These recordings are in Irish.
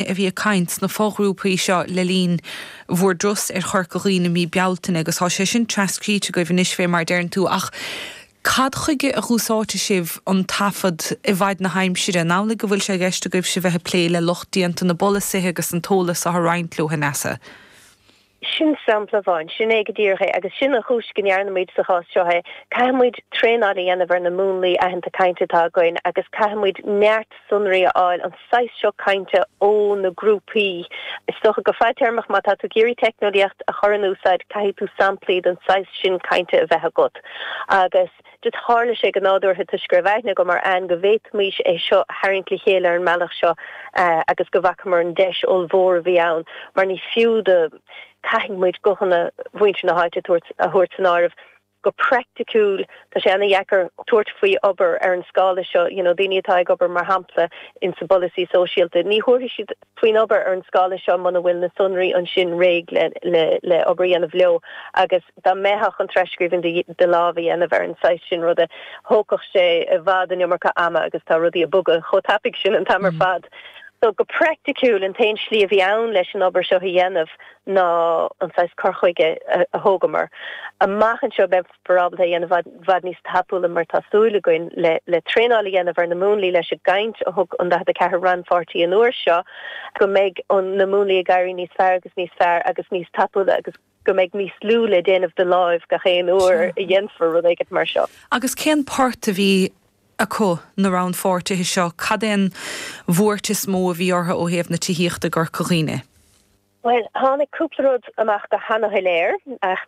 A bhí ag caint sna foghrúpaí seo le linn bhur dturas ar Chorca Dhuibhne i mí Bealtaine agus tá sé sin trascríte agaibh anois fé mar a deireann tú ach cad chuige a dh'úsáidfidh sibh an taifead i bhfaid na haimsire? An amhlaidh go bhfuil sé i gceist agaibhse bheith ag plé le lucht déanta na bpolasaithe agus an t-eolas seo a roinnt leo, a Neasa? Sin sampla amháin. Sin é go díreach é agus sin an chúis go ndearna muid sa chás seo é. Caithfidh muid traenáil a dhéanamh ar na múnlaí aitheanta cainte atá againn agus caithfidh muid neart sonraí a fháil, an saghas seo cainte ó na grúpaí. Is dócha go fadtéarmach má tá tú ag iarraidh teicneolaíocht a chur in úsáid caithfidh tú samplaí den saghas sin cainte a bheith agat agus just tharla sé go nádúrtha toisc go raibh aithne agam ar Anne go bhféadfaimis é seo a tharraingt le chéile ar an mbealach seo agus go bhfacamar an deis ollmhór a bhí ann mar ní fiú do caithfidh muid guthanna mhuintir na háite a thabhairt san áireamh. Go praiticiúil tá sé ana-dheacair tabhairt faoi obair ar an scála seo, you know daoine atá ag obair mar shampla in sa bpolasaí sóisialta, ní thabharfaidh siad faoin obair ar an scála seo muna bhfuil na sonraí ansin réidh le le le obair a dhéanamh leo agus dá mbeifeá chun tras-scríbhinn de láimh a dhéanamh ar an saghas sin ruda, thógfadh sé i bhfad an iomarca ama agus tá rudaí ag bogadh chomh tapaidh sin an t-am ar fad. So, go praiticiúil, an t-aon slí a bhí ann leis an obair seo a dhéanamh ná an saghas cur chuige a thógamar. Amach anseo, beifear ábalta é a dhéanamh i bhfad níos tapúla mar tá súil againn le le traenáil a dhéanamh ar na múnlaí leis an gcaint a thug an 44 rannpháirtí an uair seo, go mbeidh na múnlaí ag éirí níos fearr agus níos fearr agus níos tapúla agus go mbeidh níos lú le déanamh de láimh gach aon uair a dhéanfar rud éigin mar seo. Agus cén port a bhí acu, na rannpháirtithe seo? Cad é an bhuairt is mó a bhí orthu ó thaobh na tithíochta i gCorca Dhuibhne? Bhuel, tháinig cúpla rud amach go hana-shoiléir, ach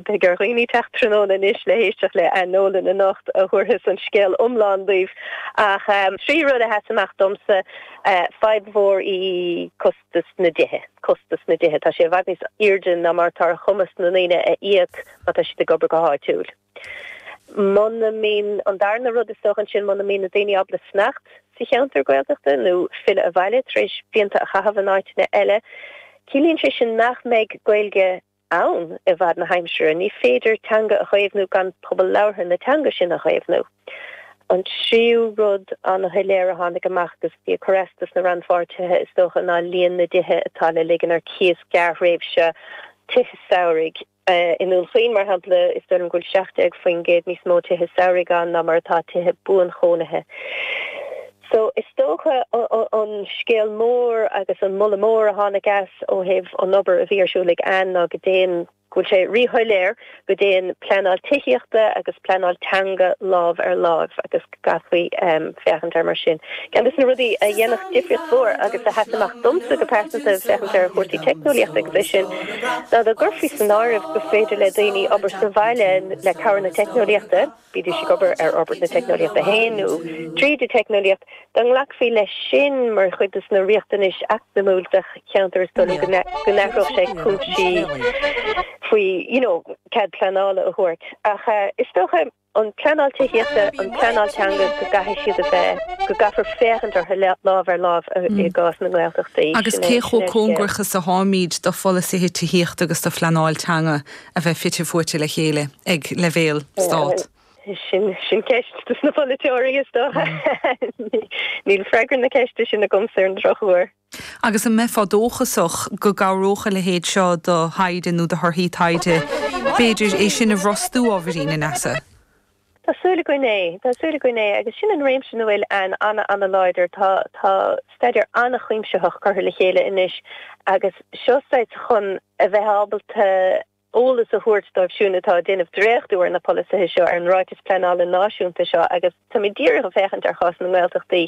beidh ar dhaoine teacht tráthnóna anois le héisteacht le Anne Nolan anocht a thabharfas an scéal iomlán daoibh. Ach trí rud a sheas amach domsa, fadhb mhór í costas na dtithe. Costas na dtithe, tá sé i bhfad níos airde ná mar atá ar chumas na ndaoine a íoc má tá siad ag obair go háitiúil. Muna mbíonn, an darna rud is dócha ansin, muna mbíonn na daoine ábalta fanacht sa cheantar Gaeltachta nó filleadh abhaile tar éis blianta a chaitheamh in áiteanna eile, ciallaíonn sé sin nach mbeidh Gaeilge ann i bhfad na haimsire. Ní féidir teanga a chaomhnú gan pobal labhartha na teanga sin a chaomhnú. An tríú rud an-shoiléir a tháinig amach agus bhí ag cur as dos na rannpháirtithe is dócha ná líon na dtithe atá le ligean ar cíos gearrthréimhse, tithe samhraidh. I nDún Chaoin, mar shampla, is dóigh liom go bhfuil 17% níos mó tithe samhraidh ann ná mar atá tithe buanchónaithe. So, is dócha an scéal mór agus an moladh mór a tháinig as ó thaobh an obair a bhí ar siúl ag Anne ná go dtéann, go bhfuil sé ríshoiléir go dtéann pleanáil tithíochta agus pleanáil teanga lámh ar láimh agus go gcaithfí féachaint air mar sin. Ceann de na rudaí a dhéanfadh difríocht mhór agus a sheas amach domsa go pearsanta féachaint ar chúrsaí teicneolaíochta agus é sin ná dá gcuirfí san áireamh gur féidir le daoine obair sa bhaile le cabhair na teicneolaíochta, bídís ag obair ar fhorbairt na teicneolaíochta féin nó tríd an teicneolaíocht, dá nglacfaí leis sin mar chuid de na riachtanais eacnamúil de cheantar is dóigh liom go n-athródh sé cúinsí faoi you know cead pleanála a thabhairt. Ach is dócha. an pleanáil tithíochta, an pleanáil teanga, go gcaithfidh siad a bheith, go gcaithfear féachaint orthu lámh ar láimh i gcás na nGaeltachtaí. Agus cé chomh cóngarach is atáimid do pholasaithe tithíochta agus do phleanáil teanga a bheith fite fuaite le chéile ag leibhéal stát? Sin ceist dos na polaiteoirí, is dócha. Níl freagra na ceiste sin agamsa ar an drochuair. Agus an mbeifeá dóchasach go gcabhródh a leithéid seo do thaighde nó do thorthaí taighde, b'fhéidir, é sin a bhrostú ábhairín, a Neasa? Tá súil againn é. Tá súil againn é. Agus sin an réimse ina bhfuil Anne an-an-láidir. Tá, tá staidéar an-chuimsitheach curtha le chéile anois agus seo saghas chun a bheith ábalta eolas a thabhairt dóibh siúd atá ag déanamh dréachtú ar na polasaithe seo, ar an Ráiteas Pleanála Náisiúnta seo agus táimid díreach ag féachaint ar chás na nGaeltachtaí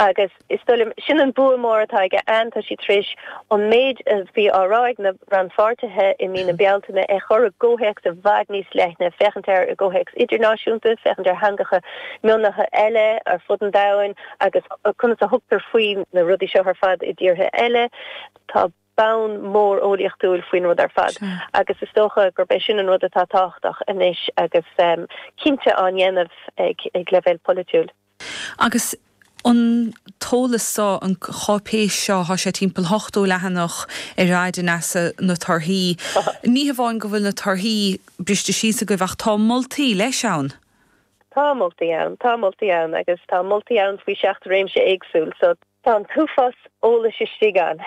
agus is dóigh liom, sin an bua mór atá aige Anne, tá sí tar éis an méid a bhí á rá ag na rannpháirtithe i mí na Bealtaine a chur i gcomhthéacs i bhfad níos leithne, féachaint air i gcomhthéacs idirnáisiúnta, féachaint ar theangacha mionlaithe eile ar fud an domhain agus conas a thugtar faoi na rudaí seo ar fad i dtíortha eile. Tá. bonn mór eolaíochtúil faoin rud ar fad agus is dócha gurb é sin an rud atá tábhachtach anois agus cinnte á ndéanamh ag ag leibhéal polaitiúil. Agus an t-eolas seo, an cháipéis seo, tá sé timpeall 80 leathanach ar fhad, a Neasa, na torthaí. Ní hamháin go bhfuil na torthaí briste síos agaibh ach tá moltaí leis ann. Tá moltaí ann, tá moltaí ann agus tá moltaí ann faoi sheacht réimse éagsúil so. Tá an t-uafás eolais istigh ann.